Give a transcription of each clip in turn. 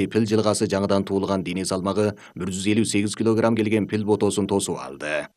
Пил жылгасы жаңыдан туулган дене салмагы 158 кг келген пил ботосун тосуп алды.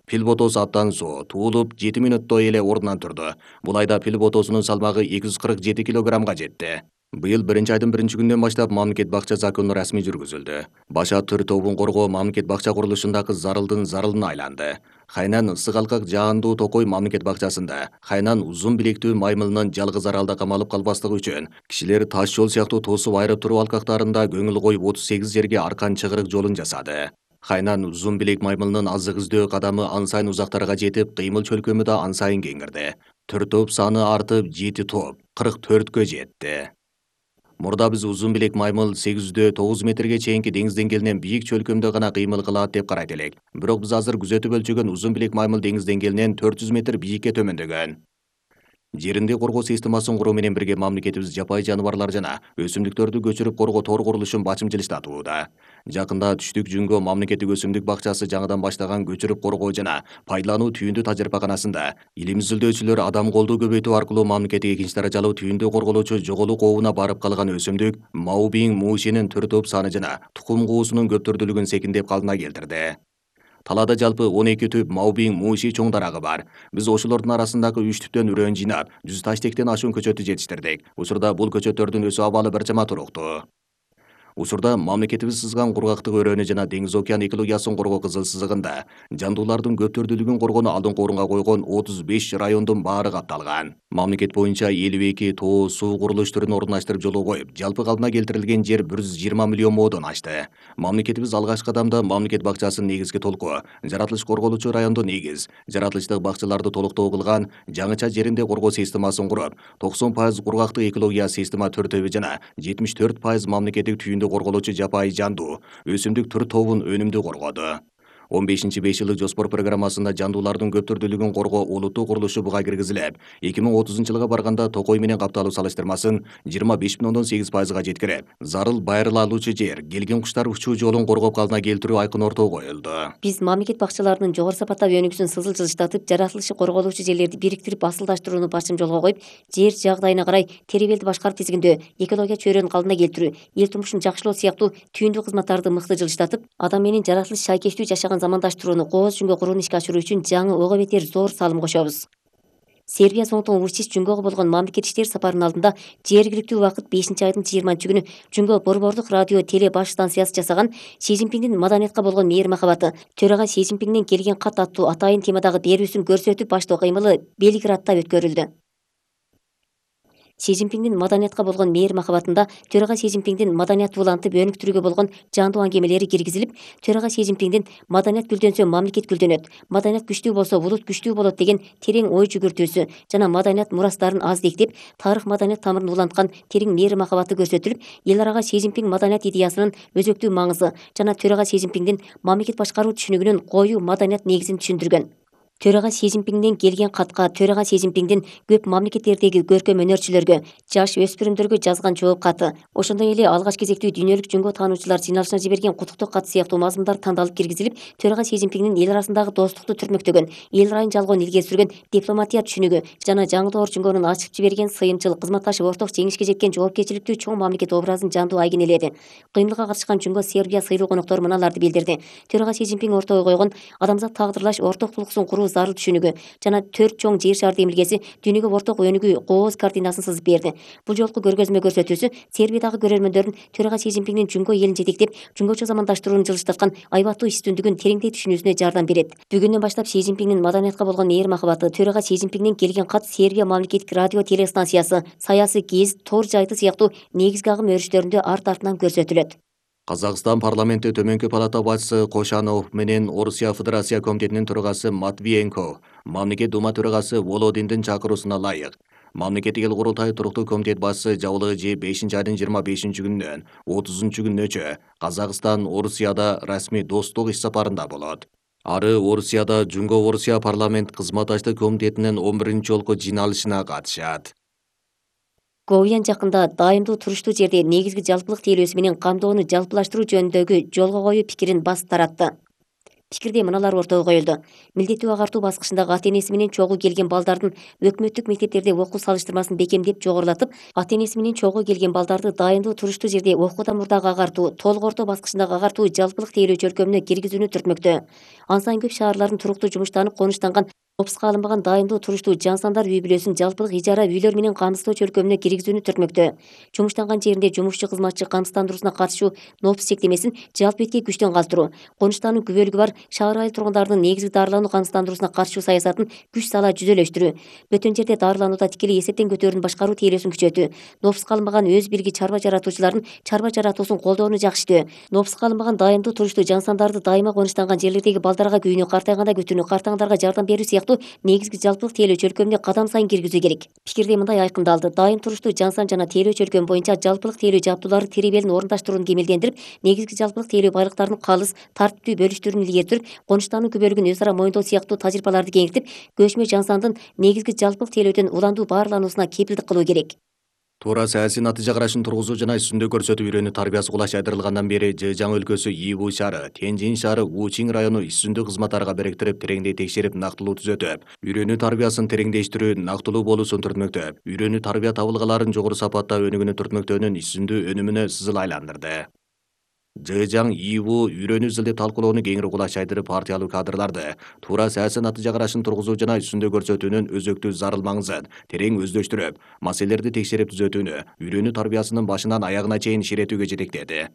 Пил ботосу абдан зоо, туулуп 7 мүнөттө эле ордунан турду. Бул айда пил ботосунун салмагы 247 кг жетти. Быйыл 1-айдын 1-күнүнөн баштап мамлекет бакча закону расмий жүргүзүлдү. Баша төр тобун коргоо мамлекет бакча курулушундагы зарылдын зарылына айланды. Хайнан ысык алкак жаандуу токой мамлекет бакчасында Хайнан узун билектүү маймылынын жалгыз аралда камалып калбастыгы үчүн кишилер таш жол сыяктуу тосуп айырып туруу алкактарында көңүл коюп 38 жерге аркан чыгырык жолун жасады. Хайнан узун билек маймылынын азык издөө кадамы ан сайын узактарга жетип, кыймыл чөлкөмү да ан сайын кеңирди. Төр топ саны артып 7 топ 44кө жетти. Мурда биз узун билек маймыл 809 метрге чейинки деңиз деңгээлинен бийик чөлкөмдө гана кыймыл кылат деп карайт элек. Бирок биз азыр күзөтүп өлчөгөн узун билек маймыл деңиз деңгээлинен 400 метр бийикке төмөндөгөн. Жеринди коргоо системасын куруу менен бирге мамлекетибиз жапайы жаныбарлар жана өсүмдүктөрдү көчүрүп коргоо тор курулушун бачым жылыштатууда. Жакында Түштүк Жүнгө мамлекеттик өсүмдүк бакчасы жаңыдан баштаган көчүрүп коргоо жана пайдалануу түйүндү тажрыйбаканасында илим изилдөөчүлөр адам колду көбөйтүү аркылуу мамлекеттик экинчи даражалуу түйүндү корголоочу жоголук ообуна барып калган өсүмдүк Маубиң муушинин төр топ саны жана тукум куусунун көп түрдүүлүгүн секиндеп калыбына келтирди. Талаада жалпы 12 түп Маубиң мууши чоң дарагы бар. Биз ошолордун арасындагы 3 түптөн үрөөн жыйнап, 100 таштектен ашуун көчөттү жетиштирдик. Учурда бул көчөттөрдүн өсүү абалы бир чама туруктуу. Учурда мамлекетибиз сызган кургактык өрөөнү жана деңиз океан экологиясын коргоо кызыл сызыгында жандуулардын көп түрдүүлүгүн коргоону алдыңкы орунга койгон 35 райондун баары катталган. Мамлекет боюнча 52 тоо суу курулуш түрүн орундаштырып жолго коюп, жалпы калпына келтирилген жер 120 миллион моодон ашты. Мамлекетибиз алгачкы кадамда мамлекет бакчасынын негизги толку, жаратылыш корголуучу райондо негиз, жаратылыштык бакчаларды толуктоо кылган, жаңыча жеринде коргоо системасын куруп, 90% кургактык экология система төртөбү жана 74% мамлекеттик түйүндү корголоочу жапайы жандуу, өсүмдүк түр тобун өнүмдүү коргоду. 15-5 жылдык жоспор программасында жандуулардын көп түрдүүлүгүн коргоо улуттук курулушу буга киргизилип, 2030-жылга барганда токой менен капталуу салыштырмасын 25,8%га жеткирип, зарыл байырыла алуучу жер, келген куштар учуу жолун коргоп калыбына келтирүү айкын ортого коюлду. Биз мамлекет бакчаларынын жогору сапаттагы өнүгүүсүн сызыл жылыштатып, жаратылышы корголуучу жерлерди бириктирип асылдаштырууну башым жолго коюп, жер жагдайына карай теребелди башкарып тизгиндөө, экология чөйрөнүн калыбына келтирүү, эл турмушун жакшылоо сыяктуу түйүндүү кызматтарды мыкты жылыштатып, адам менен жаратылыш шайкештүү жашаган замандаштырууну кооз жүнгө курууну ишке ашыруу үчүн жаңы ого бетер зор салым кошобуз. Сербия соңутуң Вучич Жүнгөгө болгон мамлекет иштер сапарынын алдында жергиликтүү убакыт 5-айдын 20-күнү Жүнгө борбордук радио теле баш станциясы жасаган Си Цзиньпиндин маданиятка болгон мээри махабаты, төрага Си Цзиньпиндин келген кат аттуу атайын темадагы берүүсүн көрсөтүп баштоо кыймылы Белградта өткөрүлдү. Си Цзиньпиндин маданиятка болгон мээри махабатында төрага Си Цзиньпиндин маданиятты улантып өнүктүрүүгө болгон жандуу аңгемелери киргизилип, төрага Си Цзиньпиндин маданият гүлдөнсө мамлекет гүлдөнөт, маданият күчтүү болсо булут күчтүү болот деген терең ой жүгүртүүсү жана маданият мурастарын аздектеп, тарых маданият тамырын уланткан терең мээри махабаты көрсөтүлүп, эл арага Си Цзиньпин маданият идеясынын өзөктүү маңызы жана төрага Си Цзиньпиндин мамлекет башкаруу түшүнүгүнүн коюу маданият негизин түшүндүргөн. Төрага Си Цзиньпинден келген катка төрага Си Цзиньпиндин көп мамлекеттердеги көркөм өнөрчүлөргө, жаш өспүрүмдөргө жазган жооп каты, ошондой эле алгач кезектүү дүйнөлүк жүнгө таануучулар жыйналышына жиберген куттуктоо кат сыяктуу мазмундар тандалып киргизилип, төрага Си Цзиньпиндин эл арасындагы достукту түрмөктөгөн, эл ырайын жалгоонун илгери сүргөн дипломатия түшүнүгү жана жаңы доор жүнгөнүн ачып жиберген сыйымчыл, кызматташып орток жеңишке жеткен жоопкерчиликтүү чоң мамлекет образын жандуу айгинеледи. Кыймылга катышкан Жүнгө Сербия сыйлуу коноктору мыналарды билдирди. Төрага Си Цзиньпин ортого койгон адамзат тагдырлаш орток тулкуусун куруу зарыл түшүнүгү жана 4 чоң жер шары демилгеси дүйнөгө орток өнүгүү кооз картинасын сызып берди. Бул жолку көргөзмө көрсөтүүсү Сербиядагы көрөрмөндөрдүн төрага Си Цзиньпиндин Жүнгө элин жетектеп, жүнгөчө замандаштырууну жылыштаткан айбаттуу үстүндүгүн тереңдей түшүнүүсүнө жардам берет. Бүгүндөн баштап Си Цзиньпиндин маданиятка болгон мээри махабаты, төрага Си Цзиньпинден келген кат, Сербия мамлекеттик радио теле станциясы, саясий гез, тор жайты сыяктуу негизги агым өрүштөрүндө арт-артынан көрсөтүлөт. Казакстан парламенти төмөнкү палата башчысы Кошанов менен Орусия Федерация комитетинин төрагасы Матвиенко мамлекет дума төрагасы Володиндин чакыруусуна ылайык мамлекеттик эл курултайы туруктуу комитет башчысы жабылыгы же 5-айдын 25-күнүнөн 30-күнүнөчө Казакстан Орусияда расмий достук иш сапарында болот. Ары Орусияда Жүнгө Орусия парламент кызматташтык комитетинин 11-жолку жыйналышына катышат. Говьян жакында дайымдуу туруштуу жерде негизги жалпылык тейлөөсү менен камдоону жалпылаштыруу жөнүндөгү жолго коюу пикирин басып таратты. Пикирде мыналар ортого коюлду. Милдеттүү агартуу баскычындагы ата энеси менен чогуу келген балдардын өкмөттүк мектептерде окуу салыштырмасын бекемдеп жогорулатып, ата энеси менен чогуу келген балдарды дайындуу туруштуу жерде окуудан мурдагы агартуу, толук орто баскычындагы агартуу жалпылык тейлөө чөлкөмүнө киргизүүнү түртмөктө. Ансайын көп шаарлардын туруктуу жумуштанып конуштанган опуска алынбаган дайындуу туруштуу жансандар үй бүлөсүн жалпылык ижара үйлөр менен камсыздоо чөлкөмүнө киргизүүнү түртмөктө. Жумуштанган жеринде жумушчу кызматчы камсыздандыруусуна катышуу нопус чектемесин жалпы этке күчтөн калтыруу, конуштаанын күбөлүгү бар шаар айыл тургундарынын негизги дарылануу камсыздандыруусуна каршы саясатын күч сала жүзөлөштүрүү, бөтөн жерде дарыланууда тикелей эсептен көтөрүүнү башкаруу тейлөөсүн күчөтүү, нопуска алынбаган өз бирги чарба жаратуучулардын чарба жаратуусун колдоону жакшыртуу, нопуска алынбаган дайындуу туруштуу жансандарды дайыма конуштанган жерлердеги балдарга күйүүнү, картайганда күтүүнү, картаңдарга жардам берүү сыяктуу негизги жалпылык тейлөө чөлкөмүнө кадам сайын киргизүү керек. Пикирде мындай айкындалды: дайым туруштуу жансан жана тейлөө чөлкөмү боюнча жалпылык тейлөө жабдуулары теребелин орундаштырууну кемелдендирип, негизги жалпылык тейлөө байлыктарын калыс, тартиптүү бөлүштүрүүнү илгери, конуштаануу күбөлүгүн өз ара моюндоо сыяктуу тажрыйбаларды кеңейтип, көчмө жансандын негизги жалпылык тейлөөдөн уландуу баарлануусуна кепилдик кылуу керек. Туура саясий натыйжа карашын тургузуу жана үстүндө көрсөтүү үйрөнүү тарбиясы кулаш айдырылгандан бери Жэжяң өлкөсү Иву шаары, Тяньжин шаары, Учинг району үстүндө кызматтарга бириктирип, тереңдей текшерип, нактылуу түзөтүп, үйрөнүү тарбиясын тереңдештирүү, нактылуу болуусун түртмөктө, үйрөнүү тарбия табылгаларын жогору сапаттаа өнүгүүнү түртмөктөөнүн үстүндүү өнүмүнө сызыл айландырды. Жэжяң Иву үйрөнүү изилдеп талкуулоону кеңири кулаш айдырып, партиялуу кадрларды туура саясий натыйжа карашын тургузуу жана үстүндө көрсөтүүнүн өзөктүү зарыл маңызын терең өздөштүрүп, маселелерди текшерип түзөтүүнү үйрөнүү тарбиясынын башынан аягына чейин ширетүүгө жетектеди.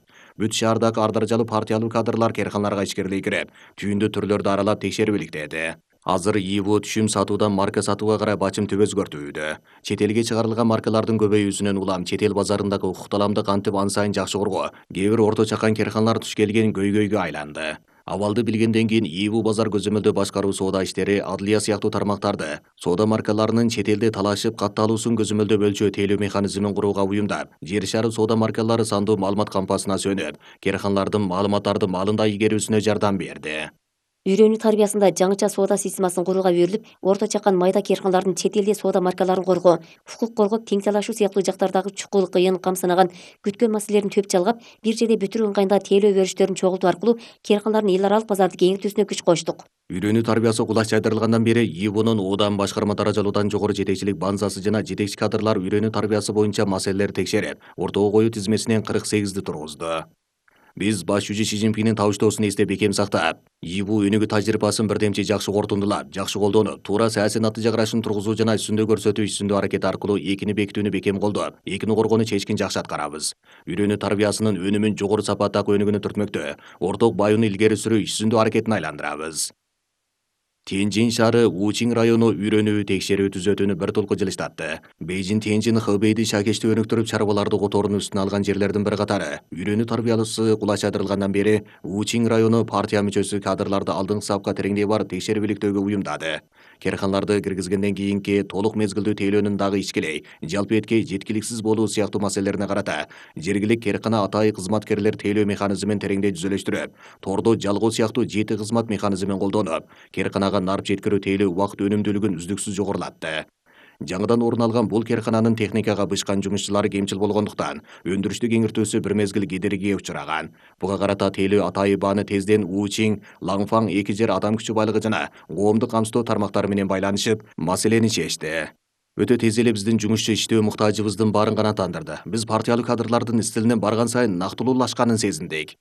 Бүт шаардагы ар даражалуу партиялуу кадрлар карканаларга ичкерилей кирип, түйүндүү түрлөрдү аралап текшерип иликтеди. Азыр Иву түшүм сатуудан марка сатууга карай бачым түп өзгөртүүдө. Чет элге чыгарылган маркалардын көбөйүүсүнөн улам чет эл базарындагы укукталамды кантип ан сайын жакшы коргоо, кээ бир орто чакан карканалар туш келген көйгөйгө айланды. Абалды билгенден кийин Иву базар көзөмөлдөө башкаруу соода иштери, адлия сыяктуу тармактарды соода маркаларынын чет элде талашып катталуусун көзөмөлдөө өлчөө тейлөө механизмин курууга уюмдап, жер шары соода маркалары сандуу маалымат кампасына сөнүп, карканалардын маалыматтарды маалында ийгерүүсүнө жардам берди. Үйрөнүү тарбиясында жаңыча соода системасын курууга берилип, орто чакан майда карканалардын чет элде соода маркаларын коргоо, укук коргоп, тең талашуу сыяктуу жактардагы чукул, кыйын, камсынаган, күткөн маселелерин төп жалгап, бир жерде бүтүрүү ыңгайында тейлөө бериштерин чогултуу аркылуу карканалардын эл аралык базарды кеңейтүүсүнө күч коштук. Үйрөнүү тарбиясы кулаш айдырылгандан бери Ивунун оодан башкарма даражалуудан жогору жетекчилик базасы жана жетекчи кадрлар үйрөнүү тарбиясы боюнча маселелерди текшерип, ортого коюу тизмесинен 48 тургузду. Биз баш жүзү Си Цзиньпиндин табыштоосун эстеп бекем сактап, Иву өнүгүү тажрыйбасын бирдемчи жакшы корутундулап, жакшы колдонуп, туура саясий натыйжа карашын тургузуу жана үстүндө көрсөтүү үстүндө аракет аркылуу экини бекитүүнү бекем колдоп, экини коргоону чечкин жакшы аткарабыз. Үйрөнүү тарбиясынын өнүмүн жогору сапаттагы өнүгүүнү түртмөктө, орток баюуну илгери сүрүү үстүндө аракетин айландырабыз. Тяньжин шаары, Учинг району үйрөнүү текшерүү түзөтүүнү бир толку жылыштатты. Бейжин Тяньжин Хэбэйди шакешти өнүктүрүп, чарбаларды которууну үстүнө алган жерлердин бир катары. Үйрөнүү тарбиясы кулаш айдырылгандан бери Учинг району партия мүчөсү кадрларды алдыңкы сапка тереңдей барып текшерип иликтөөгө уюмдады. Карканаларды киргизгенден кийинки толук мезгилдүү тейлөөнүн дагы ичкилей, жалпы этке жеткиликсиз болуу сыяктуу маселелерине карата жергилик каркана атайын кызматкерлер тейлөө механизмин тереңдей түзөлөштүрүп, тордо жалгоо сыяктуу жети кызмат механизмин колдонуп, карканага нарп жеткирүү тейлөө убакыт өнүмдүүлүгүн үздүксүз жогорулатты. Жаңыдан орун алган бул каркананын техникага бышкан жумушчулары кемчил болгондуктан, өндүрүштү кеңиртүүсү бир мезгил кедергиге учураган. Буга карата тейлөө атайын бааны тезден Учинг, Лаңфаң эки жер адам күчү байлыгы жана коомдук камсыздоо тармактары менен байланышып, маселени чечти. Өтө тез эле биздин жумушчу иштөө муктажыбыздын баарын канааттандырды. Биз партиялуу кадрлардын стилинин барган сайын нактылуулашканын сезиндик.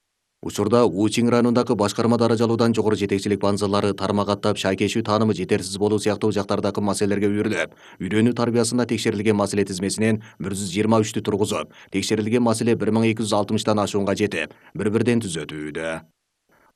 Учурда Учинг районундагы башкарма даражалуудан жогору жетекчилик базалары тармак аттап, шайкешүү таанымы жетерсиз болуу сыяктуу жактардагы маселелерге үйрүлүп, үйрөнүү тарбиясында текшерилген маселе тизмесинен 123 тургузуп, текшерилген маселе 1260 ашуунга жетип, бири-бирден түзөтүүдө.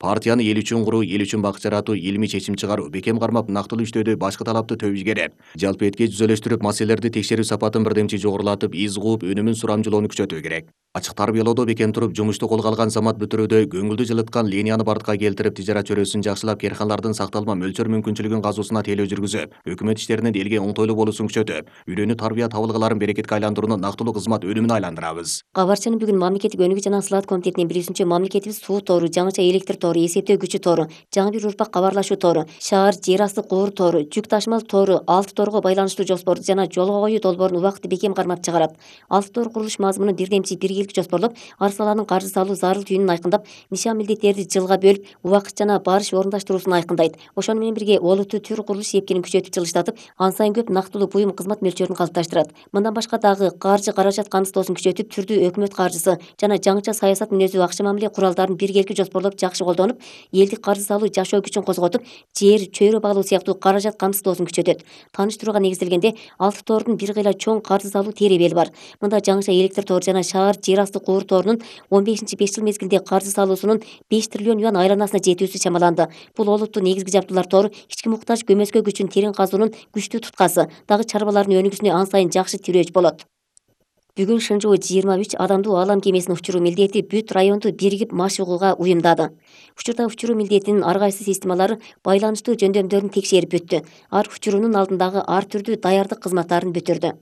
Партияны эл үчүн куруу, эл үчүн бак жаратуу, илимий чечим чыгаруу, бекем кармап, нактылуу иштөөдө башкы талапты төп ийгереп, жалпы этке жүзөлөштүрүп, маселелерди текшерүү сапатын бирдемчи жогорулатып, из кууп, өнүмүн сурамжылоону күчөтүү керек. Ачык тарбиялоодо бекем туруп, жумушту колго алган замат бүтүрүүдө көңүлдү жылыткан линияны бартка келтирип, тижарат чөйрөсүн жакшылап, карканалардын сакталма мөлчөр мүмкүнчүлүгүн казуусуна тейлөө жүргүзүп, өкмөт иштеринин элге оңтойлуу болуусун күчөтүп, үйрөнүү тарбия табылгаларын берекетке айландырууну нактылуу кызмат өнүмүнө айландырабыз. Кабарчынын бүгүн мамлекеттик өнүгүү жана слаат комитетинин 1-мамлекетибиз суу тору, жаңыча электр тору тору, эсептөө күчү тору, жаңы бир урпак кабарлашуу тору, шаар жер асты кууру тору, жүк ташымал тору, 6 торго байланыштуу жоспорду жана жолго коюу долбоорун убакытты бекем кармап чыгарат. 6 тор курулуш мазмунун бирдемчи биргелик жоспорлоп, ар саланын каржы салуу зарыл түйүнүн айкындап, нишан милдеттерди жылга бөлүп, убакыт жана барыш орундаштыруусун айкындайт. Ошону менен бирге олуттуу түр курулуш сепкинин күчөтүп жылыштатып, ан сайын көп нактылуу буюм кызмат мөлчөрүн калыпташтырат. Мындан башка дагы каржы каражат камсыздоосун күчөтүп, түрдүү өкмөт каржысы жана жаңыча саясат мүнөзү акча мамиле куралдарын биргеликти жоспорлоп жакшы колдонуп, элдик каржы салуу жашоо күчүн козготуп, жер, чөйрө баглоо сыяктуу каражат камсыздоосун күчөтөт. Тааныштырууга негизделгенде 6 тордун бир кыйла чоң каржы салуу теребели бар. Мында жаңыча электр тору жана шаар жер асты кууру торунун 15-5 жыл мезгилде каржы салуусунун 5 триллион юан айланасына жетүүсү чамаланды. Бул олуттуу негизги жабдуулар тору ички муктаж көмөскө күчүн терең казуунун күчтүү туткасы, дагы чарбалардын өнүгүүсүнө ан сайын жакшы тирөөч болот. Бүгүн Шынжоо 23 адамдуу алам кемесин учуруу милдети бүт районду биригип машыгууга уюмдады. Учурда учуруу милдетинин ар кайсы системалары байланыштуу жөндөмдөрүн текшерип бүттү. Ар учурунун алдындагы ар түрдүү даярдык кызматтарын бүтүрдү.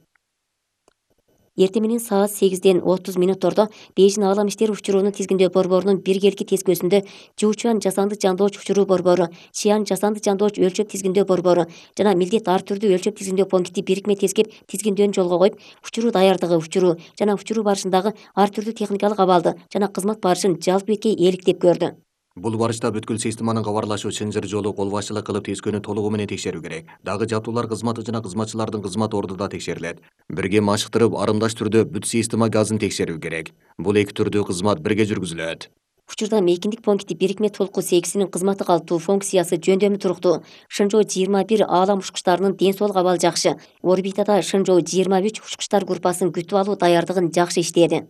Эртең менен саат 8:30 Бейжин Алам иштери учуруунун тизгиндөө борборунун биргеликки тескөөсүндө Жуучуан жасанды жандооч учуруу борбору, Чиян жасанды жандооч өлчөп тизгиндөө борбору жана милдет ар түрдүү өлчөп тизгиндөө пункти бирикме тескеп тизгиндөөн жолго коюп, учуруу даярдыгы, учуруу жана учуруу барышындагы ар түрдүү техникалык абалды жана кызмат барышын жалпы бетке ээликтеп көрдү. Бул барышта бүткүл системанын кабарлашуу чынжыр жолу кол башчылык кылып тескөөнү толугу менен текшерүү керек. Дагы жабдуулар кызматы жана кызматчылардын кызмат орду да текшерилет. Бирге машыктырып, арымдаш түрдө бүт система газын текшерүү керек. Бул эки түрдүү кызмат бирге жүргүзүлөт. Учурда мейкиндик пункти бирикме толку сегизинин кызматы калыптуу, функциясы жөндөмү туруктуу. Шынжоо 21 Аалам учкучтарынын ден соолук абалы жакшы. Орбитада Шынжоо 23 учкучтар группасын күтүп алуу даярдыгын жакшы иштеди.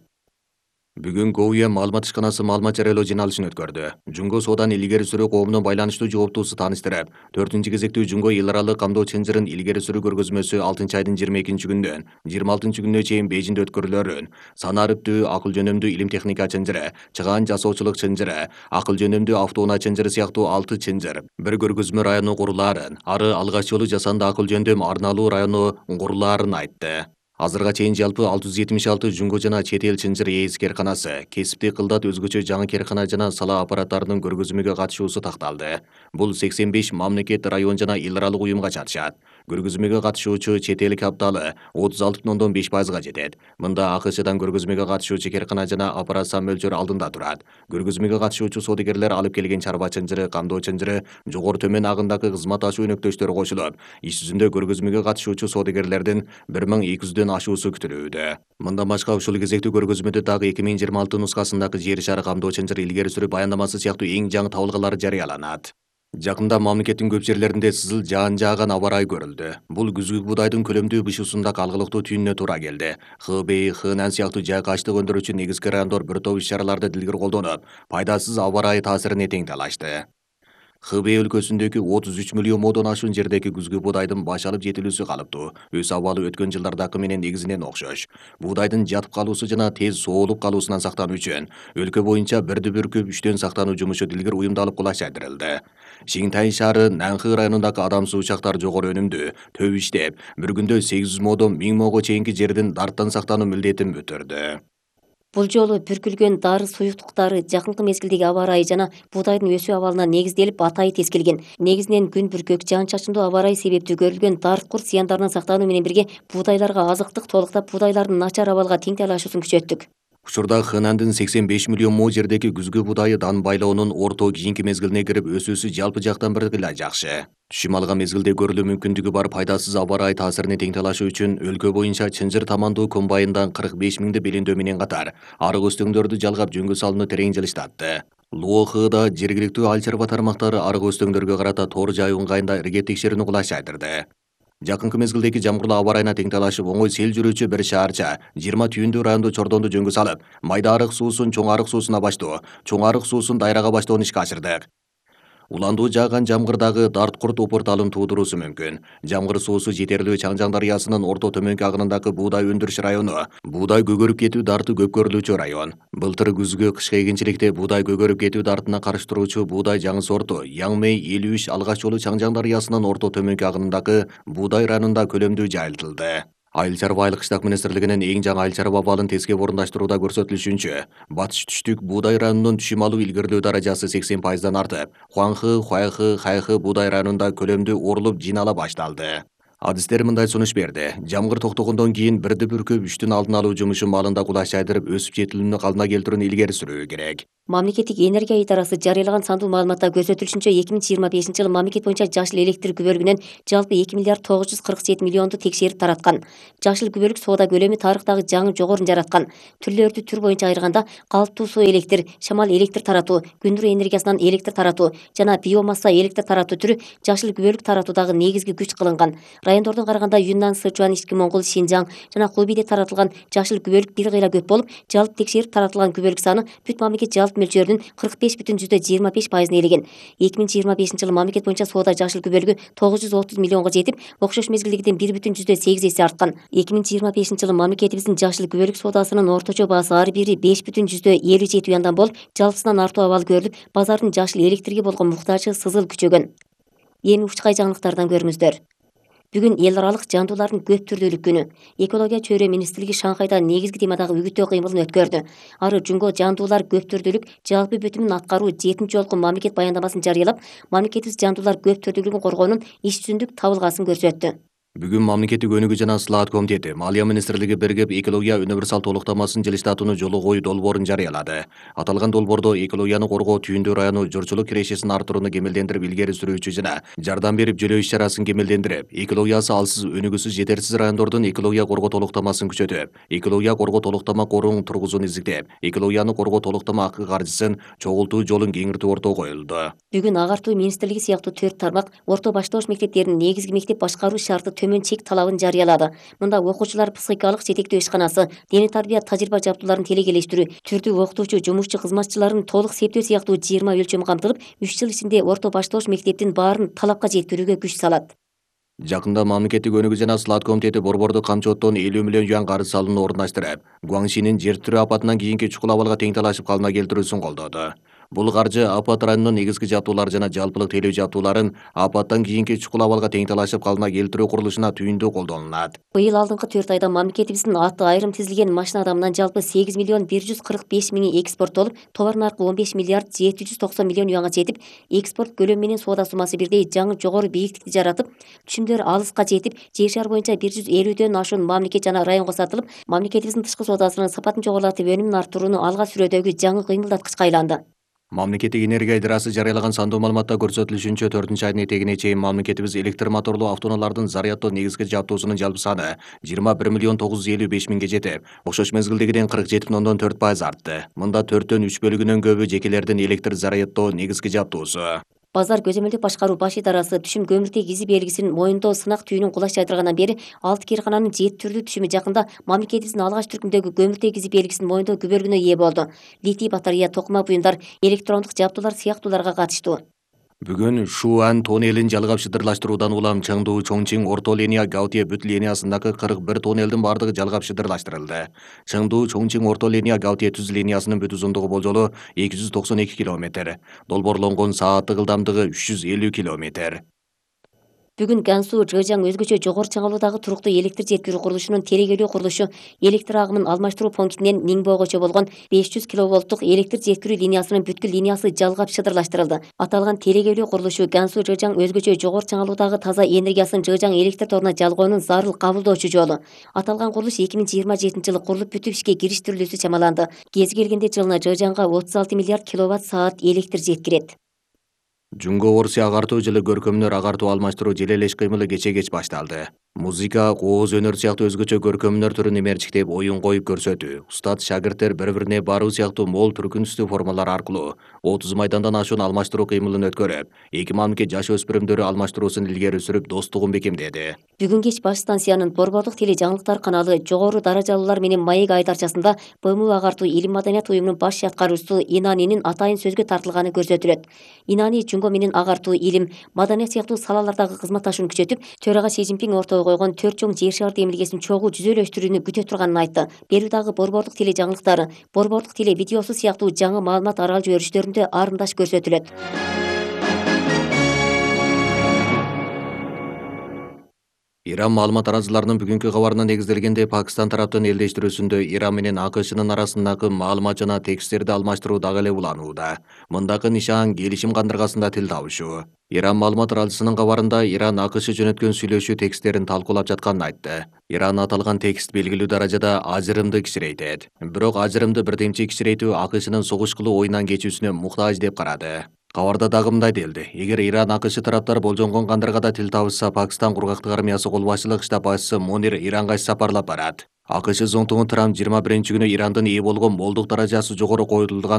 Бүгүн ГОУЕ маалымат ишканасы маалымат жарыялоо жыйналышын өткөрдү. Жунго соодан илгери сүрүү коомунун байланыштуу жооптуусу тааныштырып, 4-кезектүү Жунго эл аралык камдоо чынжырын илгери сүрүү көргөзмөсү 6-айдын 22-күндөн 26-күнүнө чейин Бейжиңде өткөрүлөрүн, санариптүү, акыл жөнөмдүү илим техника чынжыры, чыгаан жасоочулук чынжыры, акыл жөнөмдүү автоунаа чынжыры сыяктуу 6 чынжыр, бир көргөзмө району курулаарын, ары алгач жолу жасанды акыл жөндөм арналуу району курулаарын айтты. Азырга чейин жалпы 676 жунго жана чет эл чынжыр ээси керканасы, кесиптик кылдат өзгөчө жаңы керкана жана сала аппараттарынын көргөзмөгө катышуусу такталды. Бул 85 мамлекет, район жана эл аралык уюмга чатышат. Көргөзмөгө катышуучу чет эл капиталы 36,5%га жетет. Мында АКШдан көргөзмөгө катышуучу керкана жана аппарат сан мөлчөрү алдында турат. Көргөзмөгө катышуучу соодагерлер алып келген чарба чынжыры, камдоо чынжыры, жогору төмөн агындагы кызмат ашуу өнөктөштөрү кошулуп, иш жүзүндө көргөзмөгө катышуучу соодагерлердин 1200 ашуусу күтүлүүдө. Мындан башка ушул кезектүү көргөзмөдө дагы 2026 нускасындагы жер шары камдоо чынжыр илгери сүрүү баяндамасы сыяктуу эң жаңы табылгалар жарыяланат. Жакында мамлекеттин көп жерлеринде сызыл жаан жааган аба ырайы көрүлдү. Бул күзгү буудайдын көлөмдүү бышуусунда калгылыктуу түйүнүнө туура келди. Хбей, Хынан сыяктуу жайкы ачлык өндүрүүчү негизги райондор бир топ иш-чараларды дилгер колдонуп, пайдасыз аба ырайы таасирине тең талашты. Хбей өлкөсүндөгү 33 миллион модон ашуун жердеги күзгү буудайдын баш алып жетилүүсү калыптуу. Өз абалы өткөн жылдардакы менен негизинен окшош. Буудайдын жатып калуусу жана тез соолуп калуусунан сактануу үчүн өлкө боюнча бирди бүркүп 3төн сактануу жумушу дилгер уюмдалып кулачайдырылды. Шинтай шаары Нанхы районундагы адамсыз учактар жогору өнүмдүү, төп иштеп, бир күндө 800 модон 1000 мого чейинки жердин дарттан сактануу милдетин бүтүрдү. Бул жолу бүркүлгөн дары суюктуктары жакынкы мезгилдеги аба ырайы жана буудайдын өсүү абалына негизделип атайы тескелген. Негизинен күн бүркөк, жаан-чачындуу аба ырайы себептүү көрүлгөн дарт-курт зыяндарынан сактануу менен бирге буудайларга азыктык толуктап буудайлардын начар абалга тең талашуусун күчөттүк. Учурда Хынандын 85 миллион мо жердеги күзгү буудайы дан байлоонун орто кийинки мезгилине кирип өсүүсү жалпы жактан бир кыйла жакшы. Түшүм алган мезгилде көрүлүү мүмкүндүгү бар пайдасыз аба ырайы таасирине тең талашуу үчүн өлкө боюнча чынжыр тамандуу комбайндан 45 миңди белендөө менен катар арык өстөңдөрдү жалгап жөнгө салууну терең жылыштатты. Луохыда жергиликтүү ал чарба тармактары арык өстөңдөргө карата тоор жайуу ыңгайында ирге текшерүүнү кулачайдырды. Жакынкы мезгилдеги жамгырлуу аба ырайына тең талашып, оңой сел жүрүүчү бир шаарча 20 түйүндүү райондо чордонду жөнгө салып, майда арык суусун чоң арык суусуна баштоо, чоң арык суусун дайрага баштоону ишке ашырдык. Уландуу жааган жамгырдагы дарт-курт упурталын туудуруусу мүмкүн. Жамгыр суусу жетерлүү Чаңжаң дарыясынын орто төмөнкү агынындагы буудай өндүрүш району, буудай көгөрүп кетүү дарты көп көрүлүүчү район. Былтыр күзгү кышкы эгинчиликте буудай көгөрүп кетүү дартына каршы туруучу буудай жаңы сорту Яңмей 53 алгач жолу Чаңжаң дарыясынын орто төмөнкү агынындагы буудай районунда көлөмдүү жайылтылды. Айыл чарба айылык иштак министрлигинин эң жаңы айыл чарба абалын тескеп орундаштырууда көрсөтүлүшүнчө, батыш түштүк буудай районунун түшүм алуу илгерилөө даражасы 80% артып, Хуанхы, Хуайхы, Хайхы буудай районунда көлөмдүү орулуп жинаала башталды. Адистер мындай сунуш берди. Жамгыр токтогондон кийин бирди бүркөп үштүн алдын алуу жумушу малында кулаш жайдырып өсүп жетилүүнү калыбына келтирүүнү илгери сүрүү керек. Мамлекеттик энергия идарасы жарыялаган сандуу маалыматта көрсөтүлүшүнчө 2025-жылы мамлекет боюнча жашыл электр күбөлүгүнөн жалпы 2 миллиард 947 миллионду текшерип тараткан. Жашыл күбөлүк соода көлөмү тарыхтагы жаңы жогорун жараткан. Түрлөрдү түр боюнча айырганда калыптуу суу электр, шамал электр таратуу, күн нуру энергиясынан электр таратуу жана биомасса электр таратуу түрү жашыл күбөлүк таратуудагы негизги күч кылынган. Райондордон караганда Юннан, Сычуан, Ички Моңгол, Шинжаң жана Хубейде таратылган жашыл күбөлүк бир кыйла көп болуп, жалпы текшерип таратылган күбөлүк саны бүт мамлекет жалпы мөлчөрүнүн 45,25% ээлеген. 2025-жылы мамлекет боюнча соода жашыл күбөлүгү 930 миллионго жетип, окшош мезгилдегиден 1,8 эсе арткан. 2025-жылы мамлекетибиздин жашыл күбөлүк соодасынын орточо баасы ар бири 5,57 юандан болуп, жалпысынан артуу абалы көрүлүп, базардын жашыл электрге болгон муктажы сызыл күчөгөн. Эми учкай жаңылыктардан көрүңүздөр. Бүгүн эл аралык жандуулардын көп түрдүүлүк күнү. Экология чөйрө министрлиги Шанхайда негизги темадагы үгүттөө кыймылын өткөрдү. Ары жунго жандуулар көп түрдүүлүк жалпы бүтүмүн аткаруу 7 жолку мамлекет баяндамасын жарыялап, мамлекетибиз жандуулар көп түрдүүлүгүн коргоонун иш жүзүндүк табылгасын көрсөттү. Бүгүн мамлекеттик өнүгүү жана слаат комитети Малия министрлиги биригип экология универсал толуктамасын жылыштатууну жолу коюу долбоорун жарыялады. Аталган долбоордо экологияны коргоо Түйүндү району журчулук кирешесин арттырууну кемелдендирип илгери сүрүүчү жана жардам берип жөлөө иш-чарасын кемелдендирип, экологиясы алсыз, өнүгүүсүз, жетерсиз райондордун экология коргоо толуктамасын күчөтүп, экология коргоо толуктама корун тургузууну изиктеп, экологияны коргоо толуктама акы каржысын чогултуу жолун кеңиртүү ортого коюлду. Бүгүн агартуу министрлиги сыяктуу 4 тармак орто баштооч мектептеринин негизги мектеп башкаруу шарты төмөн чек талабын жарыялады. Мында окуучулар психикалык жетектөө ишканасы, дене тарбия тажрыйба жабдууларын телекелештирүү, түрдүү окутуучу, жумушчу кызматчыларын толук септөө сыяктуу 20 өлчөм камтылып, 3 жыл ичинде орто баштооч мектептин баарын талапка жеткирүүгө күч салат. Жакында мамлекеттик өнүгүү жана слаат комитети борбордук камчооттон 50 миллион юан карыз салууну орундаштырып, Гуаңшинин жер тирөө апатынан кийинки чукул абалга тең талашып калыбына келтирүүсүн колдоду. Бул каржы апат районунун негизги жабдуулары жана жалпылык тейлөө жабдууларын апаттан кийинки чукул абалга тең талашып калыбына келтирүү курулушуна түйүндүү колдонулат. Быйыл алдыңкы 4 айда мамлекетибиздин аты айрым тизилген машина адамынан жалпы 8 миллион 145 миңи экспорттолуп, товар наркы 15 миллиард 790 миллион юанга жетип, экспорт көлөмү менен соода суммасы бирдей жаңы жогору бийиктикти жаратып, түшүмдөр алыска жетип, жер шаар боюнча 150дөн ашуун мамлекет жана районго сатылып, мамлекетибиздин тышкы соодасынын сапатын жогорулатып, өнүмүн арттырууну алга сүрөөдөгү жаңы кыймылдаткычка айланды. Мамлекеттик энергия идарасы жарыялаган сандуу маалыматта көрсөтүлүшүнчө 4-айдын этегине чейин мамлекетибиз электр моторлуу автоунаалардын заряддоо негизги жабдуусунун жалпы саны 21 миллион 955 миңге жетип, окшош мезгилдегиден 47,4% артты. Мында 4төн 3 бөлүгүнөн көбү жекелердин электр заряддоо негизги жабдуусу. Базар көзөмөлдүк башкаруу баш идарасы түшүм көмүртек изи белгисин моюндоо сынак түйүнүн кулаш жайдыргандан бери 6 киркананын 7 түрдүү түшүмү жакында мамлекетибиздин алгач түркүмдөгү көмүртек изи белгисин моюндоо күбөлүгүнө ээ болду. Литий батарея, токума буюмдар, электрондук жабдуулар сыяктууларга катыштуу. Бүгүн Шуан тоннелин жалгап шыдырлаштыруудан улам Чаңдуу, Чоңчиң, Орто линия, Гаутие бүт линиясындагы 41 тоннелдин бардыгы жалгап шыдырлаштырылды. Чаңдуу, Чоңчиң, Орто линия, Гаутие түз линиясынын бүт узундугу болжолу 292 км. Долбоорлонгон сааттык ылдамдыгы 350 км. Бүгүн Гансу, Жыжаң өзгөчө жогору чыңалуудагы туруктуу электр жеткирүү курулушунун телекелөө курулушу электр агымын алмаштыруу пунктинен Ниңбойгочо болгон 500 киловольттук электр жеткирүү линиясынын бүткүл линиясы жалгап шыдырлаштырылды. Аталган телекелөө курулушу Гансу, Жыжаң өзгөчө жогору чыңалуудагы таза энергиясын Жыжаң электр торуна жалгоонун зарыл кабылдоочу жолу. Аталган курулуш 2027-жылы курулуп бүтүп ишке кириштирилүүсү чамаланды. Кез келгенде жылына Жыжаңга 36 миллиард киловатт саат электр жеткирет. Жунго Орусия агартуу жылы көркөмдөр агартуу алмаштыруу желелеш кыймылы кеч башталды. Музыка, кооз өнөр сыяктуу өзгөчө көркөмдөр түрүн эмерчиктеп ойун коюп көрсөтүү, устат шагирттер бири-бирине баруу сыяктуу мол түркүнүстүү формалар аркылуу 30 майдандан ашуун алмаштыруу кыймылын өткөрүп, эки мамлекет жаш өспүрүмдөрү алмаштыруусун илгери сүрүп, достугун бекемдеди. Бүгүн кеч баш станциянын борбордук теле жаңылыктар каналы жогору даражалуулар менен маек айдарчасында БМУ агартуу илим маданият уюмунун баш аткаруучусу Инанинин атайын сөзгө тартылганы көрсөтүлөт. Инани жунго менен агартуу, илим, маданият сыяктуу салалардагы кызматташууну күчөтүп, төрага Си Цзиньпин ортого койгон 4 чоң жер шаар демилгесин чогуу жүзөлөштүрүүнү күтө турганын айтты. Берүүдагы борбордук теле жаңылыктары, борбордук теле видеосу сыяктуу жаңы маалымат аралжуу өрүштөрүндө арымдаш көрсөтүлөт. Иран маалымат тараазыларынын бүгүнкү кабарына негизделгенде Пакистан тараптын элдештирүүсүндө Иран менен АКШнын арасындагы маалымат жана тексттерди алмаштыруу дагы эле уланууда. Мындагы нишан келишим кандыргасында тил табышуу. Иран маалымат тараазысынын кабарында Иран АКШ жөнөткөн сүйлөшүү тексттерин талкуулап жатканын айтты. Иран аталган текст белгилүү даражада ажырымды кичирейтет. Бирок ажырымды бирдемчи кичирейтүү АКШнын согуш кылуу оюнан кечүүсүнө муктаж деп карады. Кабарда дагы мындай делди: эгер Иран АКШ тараптар болжонгон кандыргада тил табышса, Пакистан кургактык армиясы кол башчылык штаб башчысы Монир Иранга иш сапарлап барат. АКШ зонтугун Трамп 21-күнү Ирандын ээ болгон молдук даражасы жогору коюлган